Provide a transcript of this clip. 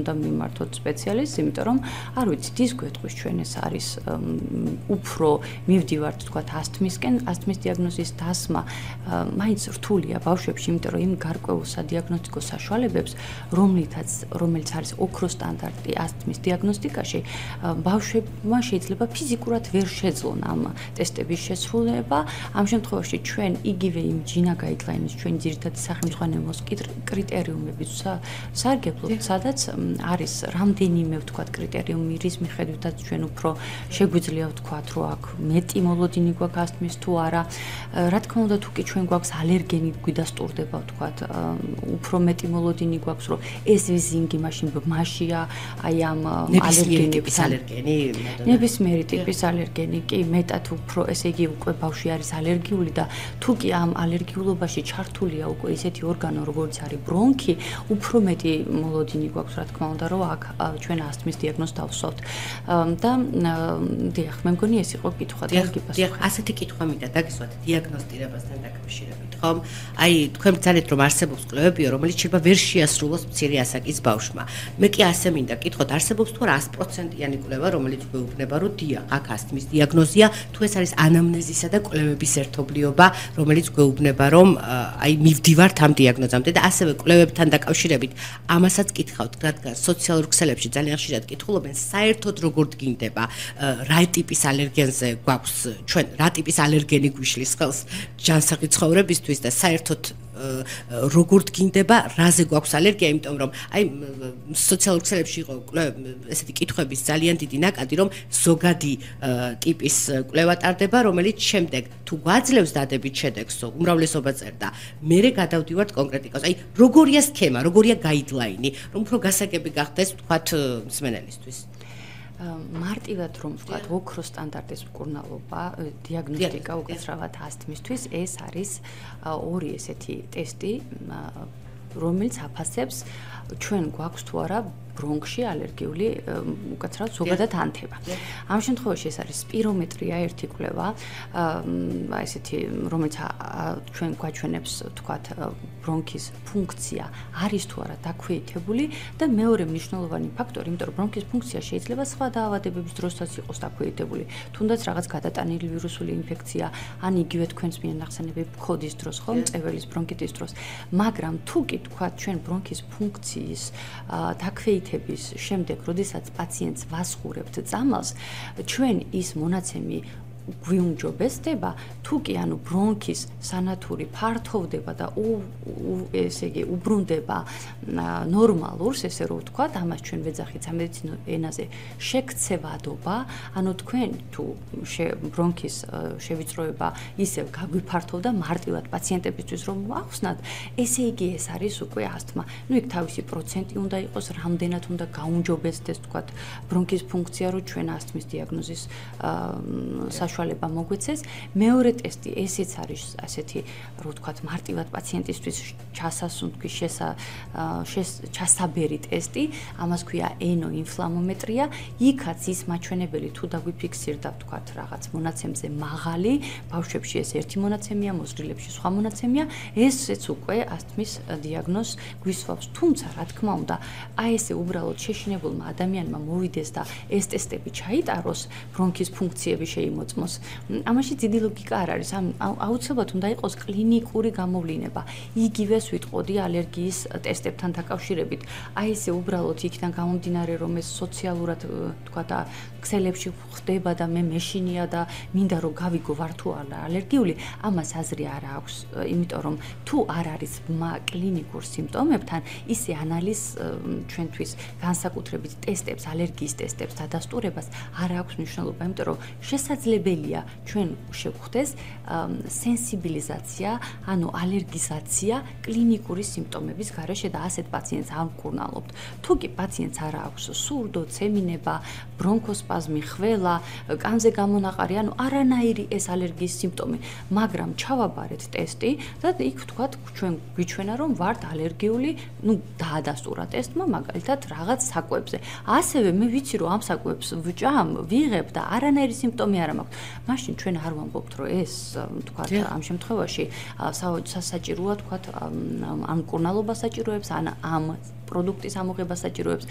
უნდა მიმართოთ სპეციალისტს, იმიტომ რომ არ ვიცით ის გვეტყვის ჩვენ ეს არის უფრო მივდივართ თქვათ ასთმისკენ, ასთმის დიაგნოზის დასმა მაინც რთულია ბავშვებში, იმიტომ რომ იმ გარკვეულ სადიაგნოსტიკო საშუალებებს, რომელიც არის ოქროს სტანდარტი ასთმის დიაგნოსტიკაში, ბავშვებმა შეიძლება ფიზიკურად ვერ შეძლონ ამ ტესტების შესრულება. ამ შემთხვევაში ჩვენ იგივე იმ ჯინა გაიდლაინის ჩვენ ძირითადი სახელმძღვანელოს კრიტერიუმებით სარგებლობთ, სადაც არის რამდენიმე ვთქვათ კრიტერიუმი, რის მიხედვითაც ჩვენ უფრო შეგვიძლია ვთქვათ, რომ აქ მეტი მოლოდინი გვაქვს ასთმის თუ არა. რა თქმა უნდა, თუ კი ჩვენ გვაქვს ალერგენი გვიდასტურდება ვთქვათ, უფრო მეტი მოლოდინი გვაქვს, რომ ეს ვიზინგი მაშინ ბმაშია, აი ამ ალერგენების ალერგენი, ნებისმიერი ტიპის ალერგენი, კი მეტად უფრო, ესე იგი უკვე ბავშვი არის ალერგიული და თუ კი ამ ალერგიულობაში ჩართულია უკვე ისეთი ორგანო, როგორც არის ბრონქი, უფრო მეტი მოლოდინი გვაქვს, რა თქმა უნდა, რომ აქ ჩვენ ასთმის დიაგნოზს დავსვავთ. და დიახ, მე მგონი ეს იყო კითხვა და დიახ, ასეთი კითხვა მინდა დაგისვათ დიაგნოსტირებასთან დაკავშირებით, ხომ? აი, თქვენ ბრძანეთ, რომ არსებობს კვლევებიო, რომელიც შეიძლება ვერ შეასრულოს მცირე ასაკის ბავშვმა. მე კი ასე მინდა კითხოთ, არსებობს თუ 100%-იანი კვლევა, რომელიც გვეუბნება, რომ დიახ, აქ ასთმის დიაგნოზია, თუ ეს არის ანამნეზისა და კვლევების ერთობლიობა, რომელიც გვეუბნება, რომ აი მივდივართ ამ დიაგნოზამდე და ასევე კვლევებთან დაკავშირებით ამასაც კითხავთ, რადგან სოციალურ ქსელებში ძალიან ხშირად კითხულობენ, საერთოდ როგორ დგინდება, რა ტიპის ალერგენზე გვაქვს ჩვენ, რა ტიპის ალერგენი გვიშლის ხელს ჯანსაღი ცხოვრებისთვის და საერთოდ როგორ დგინდება, რაზე გვაქვს ალერგია, იმიტომ რომ აი სოციალურ ქსელებში იყო ესეთი კითხვების ძალიან დიდი ნაკადი, რომ ზოგადი ტიპის კვლევა ტარდება, რომელიც შემდეგ თუ გვაძლევს დადებით შედეგს, უმრავლესობა წერდა, მერე გადავდივართ კონკრეტიკას. აი როგორია სქემა, როგორია გაიდლაინი, რომ უფრო გასაგები გახდეს თქვათ მსმენელისთვის. მარტივად რომ ვთქვათ, ოქროს სტანდარტის მკურნალობა, დიაგნოსტიკა უკაცრავად ასთმისთვის, ეს არის ორი ესეთი ტესტი, რომელიც აფასებს ჩვენ გვაქვს თუ არა ბრონქში ალერგიული უკაცრავად ზოგადად ანთება. ამ შემთხვევაში ეს არის სპირომეტრია, ერთი კვლევა, ესეთი, რომელიც ჩვენ გვაჩვენებს, ვთქვათ, ბრონქის ფუნქცია არის თუ არა დაქვეითებული და მეორე მნიშვნელოვანი ფაქტორი, იმიტომ რომ ბრონქის ფუნქცია შეიძლება სხვა დაავადებების დროსაც იყოს დაქვეითებული, თუნდაც რაღაც გადატანილი ვირუსული ინფექცია, ან იგივე თქვენს მიერ ნახსენები ფქოდის დროს, ხო, მწეველის ბრონქიტის დროს, მაგრამ თუ კი თქვათ, ჩვენ ბრონქის ფუნქციის დაქვეითების შემდეგ, როდესაც პაციენტს ვასხურებთ წამალს, ჩვენ ის მონაცემი გვიუმჯობესდება, თუ კი ანუ ბრონქის სანათური ფართოვდება და ესე იგი უბრუნდება ნორმალურს, ესე რომ ვთქვათ, ამას ჩვენ ვეძახით სამედიცინო ენაზე შექცევადობა, ანუ თქვენ თუ ბრონქის შევიწროება ისევ გაგვიფართოვდა მარტივად პაციენტებისთვის რომ ახსნათ, ესე იგი ეს არის უკვე ასთმა. ნუ იქ თავისი პროცენტი უნდა იყოს, რამდენად უნდა გაუმჯობესდეს, ვთქვათ, ბრონქის ფუნქცია, რომ ჩვენ ასთმის დიაგნოზის საშუალება მოგვეცეს. მეორე ტესტი ესეც არის ასეთი, რომ ვთქვათ, მარტივად პაციენტისთვის ჩასასუნთქვის ჩასაბერი ტესტი, ამას ქვია ენოინფლამომეტრია. იქაც ის მაჩვენებელი თუ დაგვიფიქსირდა, ვთქვათ, რაღაც მონაცემზე მაღალი, ბავშვებში ეს ერთი მონაცემია, მოზრდილებში სხვა მონაცემია, ესეც უკვე ასთმის დიაგნოზს გვისვავს. თუმცა, რა თქმა უნდა, აი ესე უბრალოდ შეშინებულმა ადამიანმა მოვიდეს და ეს ტესტები ჩაიტაროს, ბრონქის ფუნქციები შეიმოწმოს. ამაში დიდი ლოგიკა არ არის. აუცილებლად უნდა იყოს კლინიკური გამოვლინება. იგივეს ვიტყოდი ალერგიის ტესტებთან დაკავშირებით. აი ესე უბრალოდ იქიდან გამომდინარე, რომ ეს სოციალურად, თქვათ, ქსელებში ხდება და მე მეშინია და მინდა რომ გავიგო ვარ თუ არა ალერგიული, ამას აზრი არ აქვს, იმიტომ რომ თუ არ არის კლინიკურ სიმპტომებთან, ისე ანალიზ ჩვენთვის განსაკუთრებით ტესტებს, ალერგიის ტესტებს დადასტურებას არ აქვს მნიშვნელობა, იმიტომ რომ შესაძლებელია ჩვენ შევხვდეს სენსიბილიზაცია, ანუ ალერგიზაცია კლინიკური სიმპტომების გარეშე და ასეთ პაციენტს არ ვკურნალობთ. თუ კი პაციენტს არ აქვს სურდო, ცემინება, ბრონქოსპაზმი, ხველა, კანზე გამონაყარი, ანუ არანაირი ეს ალერგიის სიმპტომი, მაგრამ ჩავაბარეთ ტესტი და იქ ვთქვათ, ჩვენ გვიჩვენა რომ ვართ ალერგიული, ნუ დაადასტურა ტესტმა მაგალითად რაღაც საკვებზე. ასევე მე ვიცი რომ ამ საკვებს ვჭამ, ვიღებ და არანაირი სიმპტომი არ მაქვს. მაშინ ჩვენ არ ვამბობთ რომ ეს თქვათ ამ შემთხვევაში სასაჭიროა თქვათ ამ მკურნალობა საჭიროებს ან ამ პროდუქტის ამოღება საჭიროებს